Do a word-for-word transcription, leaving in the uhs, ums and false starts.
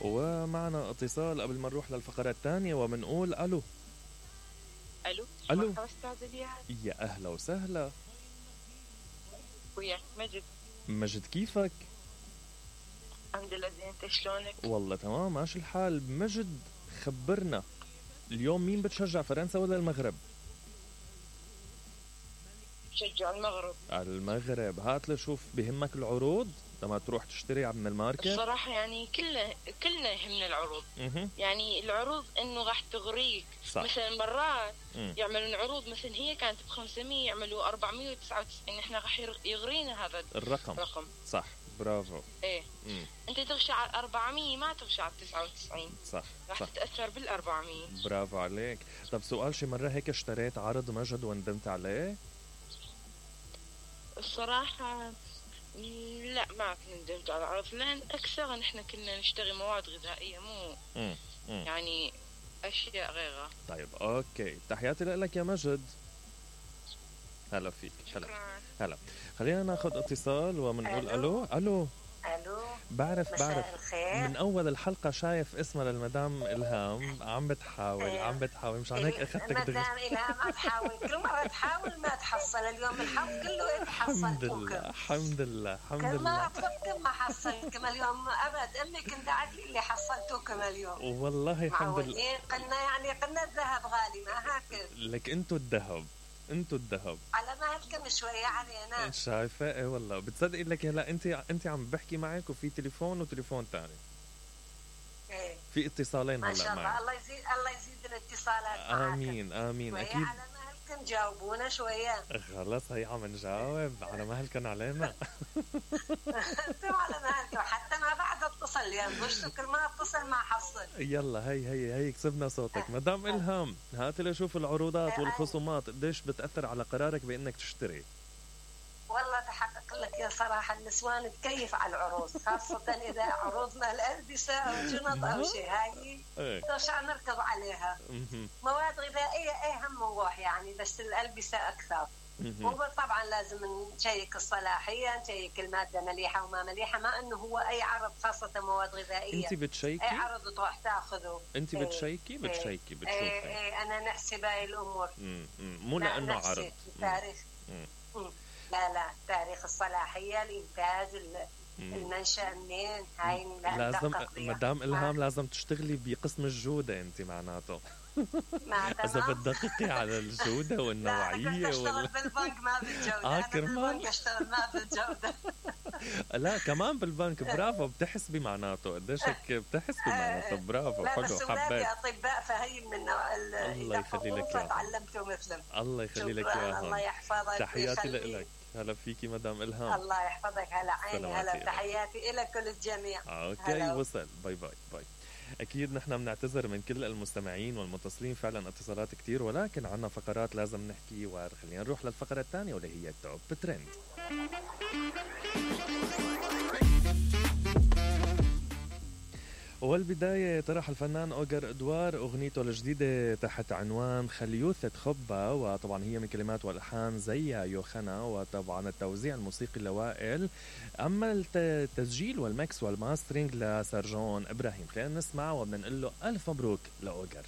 ومعنا اتصال قبل ما نروح للفقرة الثانية ومنقول الو. الو الو مرحبا استاذ الياس. يا اهلا وسهلا. وياك مجد. مجد كيفك؟ الحمد لله زين، انت شلونك؟ والله تمام ماشي الحال. مجد خبرنا اليوم مين بتشجع، فرنسا ولا المغرب؟ بشجع المغرب. المغرب. هات لشوف بهمك العروض لما تروح تشتري من الماركت؟ الصراحة يعني كلنا كلنا يهمنا العروض. مه. يعني العروض انه راح تغريك. صح. مثلا مرات مم. يعملون عروض مثلا هي كانت ب خمسمية يعملوا أربعمية وتسعة وتسعين، احنا راح يغرينا هذا الرقم. الرقم. صح برافو. ايه. مم. انت تغشى على أربعمية ما تغشى على تسعة وتسعين. صح راح صح. تتأثر بالأربعمية. برافو عليك. طب سؤال، شي مرة هيك اشتريت عرض مجد وندمت عليه؟ الصراحة لا ما كنا ندمت على العرض، لأن أكثر نحن كنا نشتري مواد غذائية مو مم. مم. يعني أشياء غيرها. طيب أوكي، تحياتي لك يا مجد. هلا فيك. هلا هلا. خلينا ناخذ اتصال ومنقول ألو. ألو الو. بعرف بعرف الخير. من اول الحلقه شايف اسمها للمدام الهام عم بتحاول إيه. عم بتحاول مشان هيك اخذتك دغري. مدام الهام عم تحاول، كل مره تحاول ما تحصل، اليوم الحظ كله انت الحمد حصلتوك. لله الحمد لله الحمد كل لله. ما طلبتم ما حصلتكم اليوم ابد، امي كنت دعت لي اللي حصلتوكم اليوم. والله الحمد لله. معودين قلنا يعني قلنا الذهب غالي ما هكذا. لك انتو الذهب، انتو الذهب على مهلكم شويه علينا. شايفه؟ ايه والله بتصدقي لك هلا انت انت عم بحكي معك وفي تليفون وتليفون ثاني. ايه في اتصالين ما شاء هلا الله. معي. الله يزيد الله يزيد الاتصالات معك. امين امين شوية اكيد. على مهلكم جاوبونا شويه. خلص هي عم نجاوب على مهلكن علينا. انتم على مهلكم حتى ما بعد اتصل يعني مش كل ما اتصل ما حصل. يلا هي هي هي كسبنا صوتك. مدام إلهام هاتي لشوف العروضات والخصومات قديش بتأثر على قرارك بأنك تشتري. والله تحقق لك يا صراحة النسوان تكيف على العروض، خاصة إذا عروض مال الألبسة أو جنط أو شيء، هاي ترجع نركض عليها. مواد غذائية إيه هم نروح يعني، بس الألبسة أكثر. وطبعا لازم نشيك الصلاحية، نشيك المادة مليحة وما مليحة، ما انه هو اي عرض خاصة مواد غذائية انت بتشيكي؟ اي عرض تروح تاخذه. انت بتشيكي بتشيكي بتشوفي؟ ايه ايه انا نحسب هاي الامور. مم. مم. مو لانه عرض التاريخ. لا لا تاريخ الصلاحية، الانتاج، المنشأ منين، هاي لازم مدام إلهام لازم تشتغلي بقسم الجودة انت معناته. إذا بتدققي على الجودة والنوعية. لا أشتغل وال... بالبنك ما بالجودة. آه أنا بالبنك أشتغل ما بالجودة. لا كمان بالبنك. برافو بتحسبي معناته قديش هيك بتحسبي معناته. برافو حلو. بس أولادي أطباء فهي من النوع. الله يخلي لك إياها. تعلمته مثلهم. الله يخلي لك إياها. الله يحفظك. تحياتي لك. هلا فيكي مدام إلهام. الله يحفظك. هلا عيني. هلا تحياتي لك وللجميع. اوكي هلو. وصل. باي باي باي. أكيد نحن بنعتذر من كل المستمعين والمتصلين، فعلا اتصالات كتير، ولكن عنا فقرات لازم نحكي. وخلينا نروح للفقرة الثانية واللي هي التوب ترند. والبداية طرح الفنان أوغر إدوار أغنيته الجديدة تحت عنوان خليوثة خبة، وطبعا هي من كلمات والألحان زيا يوخنا، وطبعا التوزيع الموسيقي لوائل، أما التسجيل والمكس والماسترينج لسرجون إبراهيم. خلينا نسمع وبدنا نقول له ألف مبروك لأوغر.